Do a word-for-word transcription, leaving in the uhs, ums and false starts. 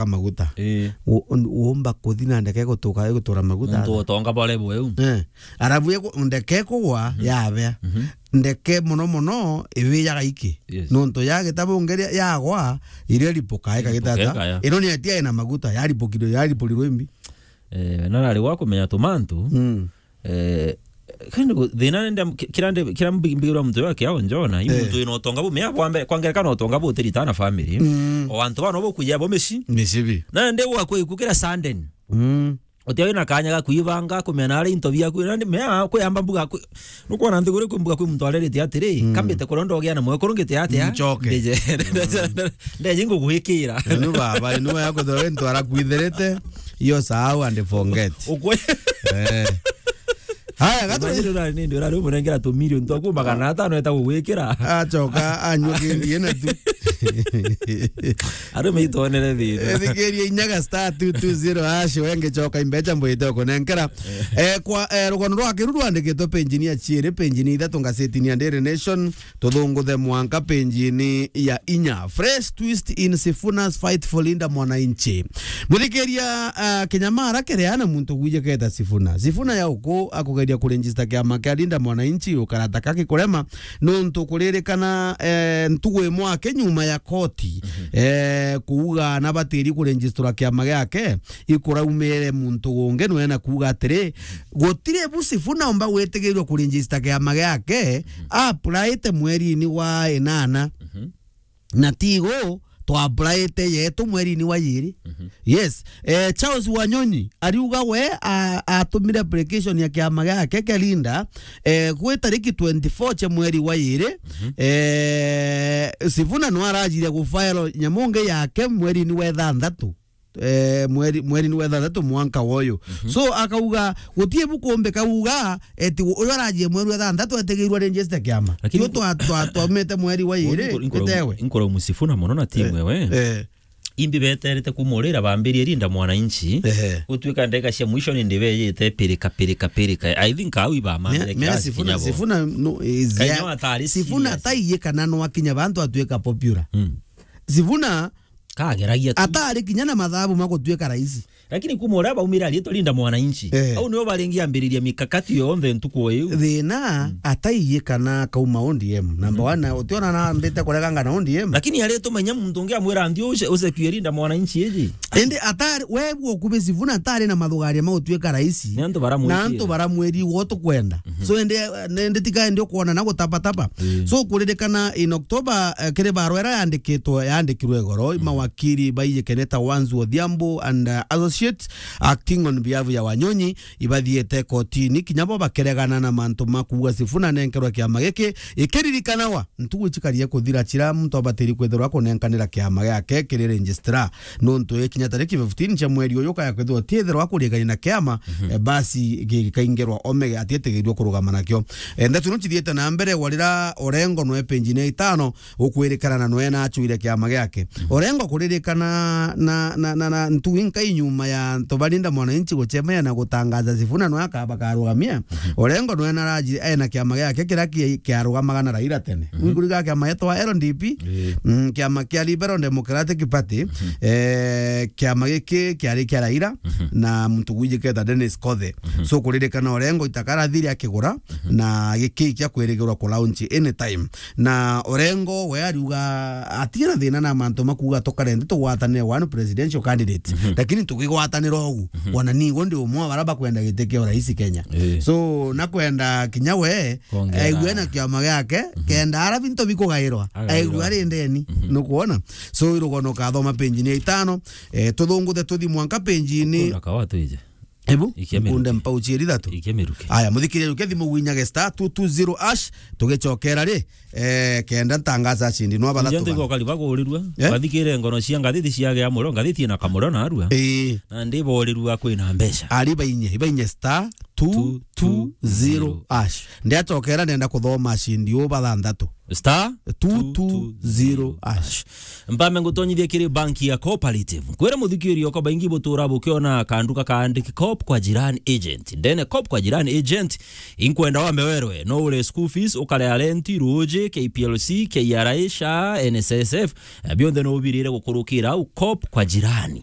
ka maguta. Ii. U-, un-, uumba kuthi na ndeke gutuka, gutura maguta. Nontu utonga bore bweu. Eh. Arabu ego-, ndeke kugwa, mhm, yabea. Mhm. Ndeke mono mono, iwijaga iki. Yes. Nontu ya gitabu ngeria yagwa, iria ripoka, eka gitata. Iripoka eka ya. Ino ni atia ina maguta, yaripokirwe, yariporirwe imbi. Eh, na nari gwa kumenya tumantu. Mm. Eh, kandi gu-, thina nende, ki-, kira nde, kira mbi-, mbigirwa muntu yo akiao njona, i, eh, muntu ina utonga bu, mea bwa mbere, kwa ngerekano utonga bu utiritana family. Mm. O antu bano bo kuja bo mici. Mici bi. Na nde gwa kwe kukira Sunday. Mm. Utia wina kanya ga kuibanga, kumenya nari into biaku, na nde mea kuyamba mbuga kwi, nukwona nthiguru kwi mbuga kwi muntu arerite atiri, mm, kambite kuria ndogia na mwekuru ngite atia? Ncoke. Ndeje. Mm. Ndeje ngugwikira. Inu baba, inu ya kuthirwa into arakwithirite, iyo sahau and forget. Ukwe. Eh. Haya, gatu- Imagine urari nindi urari umunengera tu million twaku magana atano eta gugwikira. Acoka anyua kindi ena tu. Arume itonere thina. Ethikiria inyaga star two two zero hash, wenge coka imbecha mbwite ukunenkera. Eh, kwa, eh, rugono rwa Kiru rwandikitwe penjini ya chiiri, penjini ithatu ngazetini ya Daily Nation, tuthunguthe mwanka penjini ya inya. Fresh twist in Sifuna's fight for Linda Mwananchi. Muthikiria, ah, kinyamara kiria na muntu gwijiketa Sifuna. Sifuna ya uku akugeria kuregister kiama kia Linda Mwananchi, ukarata kaki kurema, nontu kuririkana, eh, ntugu imwe aki nyuma ya koti, mhm, eh, kuuga na batiri kuregistura kiama giake, ikuraumire muntu ungi nwe na kuuga atiri, gutiri bu Sifuna umba gwitigirwa kuregister kiama giake, mhm, applyite mweri-ini wa inana. Mhm. Na tigo twapplyite yetu mweri-ini wa yiri. Mhm. Yes. Eh, Charles Wanyonyi ariuga we a-, atumire application ya kiama giake kia Linda, eh, gwi tariki twenty-four cia mweri wa yiri. Mhm. Eh, Sifuna no arajire gufile nyamu ngi yake mweri-ini wa ithanthatu. Eh, mweri, mweri-ini wa ithanthatu mwanka woyo. Mhm. So, akauga, gutie bukumbika uga, eti uyu arajie mweri wa ithanthatu etigirwe register kiama. Lakini yu twa-, twa-, twaumite mweri wa iri, inkoro-, inkoro-, itewe. Inkoro Musifuna mono na timu, eh, ewe. Eh. Imbi beterete kumurira bambirie Linda Mwananchi. Ehe. Gutuika ndeka cia mwisho ni ndibejite pirika, pirika, pirika. I think au ibamambire. Mea, mea kiasi Sifuna, kinyabo. Sifuna no, is Kenya ya-, atari Sifuna serious. Ataiye kana no akinya bantu atuika popular. Mm. Sifuna kageragia tu. Atari kinya na mathabu ma gutuika raisi. Lakini kuma uria baumire ariitwa Linda Mwananchi. Eh. Au nio baringi ambiriria mikakati yonthe ntuku iu. Thina, mm, ataiye kana kauma O D M. Number, mhm, one, utiona na ambite kureganga na O D M. Lakini aritumenya muntu ungi amwira nthi uce-, ucekue Linda Mwananchi iji. Indi atari, we gwo kubi Sifuna atari na mathugaria ma gutuika raisi. Ni antu baramwitie. Na antu baramwiri gwo tukwenda. Mhm. So, indi, indi tika indi ukwona na gutapatapa. Ii. So, kuririkana in October, eh, kiri barua iria yandikitwe, yandikirwe igoro, mhm, mawakiri baiyikene ta Wanzu Odhiambo and, uh, Associates, acting on behalf ya Wanyonyi, ibathiete kotini, kinya bo bakeregana na mantu ma kuuga Sifuna nenkerwa kiama giki, ikiririkanawa ntugu icikarie kuthira chira muntu abatiri kwithirwa kunenkanira kiama giake kiri registrar. Nontu ikinya tariki fifteen cia mweri uyu kaya kwithirwa tiithirwa kurigania na kiama, mhm, eh, basi gikaingerwa omege atietigirwe kurugama nakio. Eh, ndeto ino chithiite na mbere, warira Orengo nwe penjini ya itano ukwirikana na nwe na achuire kiama giake. Mhm. Orengo kuririkana na, na, na, na ntu inkai nyuma ya antu ba Linda Mwananchi guchemea na gutangaza Sifuna nwe akaba karugamia. Mhm. Orengo nwe na raji, ena kiama giake kiria ki-, kiarugamaga na Raila tene. Mhm. Wiguriga kiama gitwa L D P, ii, mm, kiama kia Liberal Democratic Party, mhm, eh, kiama giki kiari kia Raila, mhm, na muntu gwijiketa Dennis Kothe. Mhm. So, kuririkana Orengo itakarathire akigura, mhm, na giki kia kwirigirwa ku launch anytime. Na Orengo we ariuga atina thina na mantu ma kuuga tukarende tugwatanire one presidential candidate. Mhm. Lakini tugigwatanira ugu, mhm, wana nigo ndi umwe wa bara bakwenda giti kia urais Kenya. Ii. So, na kwenda kinya we, kwongera, aigue na kiama giake, mhm, kenda ara bintu bikugairwa. Agairwa. Aigue ari ndeni. Mhm. Nukwona? So, irugono kathoma penjini ya itano, eh, tuthunguthe tuthi mwanka penjini. Kuna kawa tuije. Ebu, ikia miruki. Nkunde mpauchi iri thatu. Ikia miruki. Aya, muthikiria ruke thimu gwinyage star two two zero hash, tugicokera ri, eh, kenda ntangaza acindi no bathatu. Nje ntigo bana kari bagurirua. Eh? Bathikire ngono cia ngathiti cia gea muro, ngathiti na kamuro na arua. Ii. Na ndi borirua kwina mbeca. Ari bainye, ibainye star two two zero hash. Ndiacokera nenda kuthoma cindi uba thanthatu. Star two two zero hash. Mpame ngutonyithie kiri banki ya Cooperative. Kwira muthikiri okwa baingi butura bukiona kanduka kaandiki Coop kwa Jirani Agent. Ndene Coop kwa Jirani Agent, inkwenda wambe werwe, no ure school fees, ukarega rent, ruuji, K P L C, K R A, SHA, N S S F, eh, bionthe no ubirire gukurukira au Coop kwa Jirani.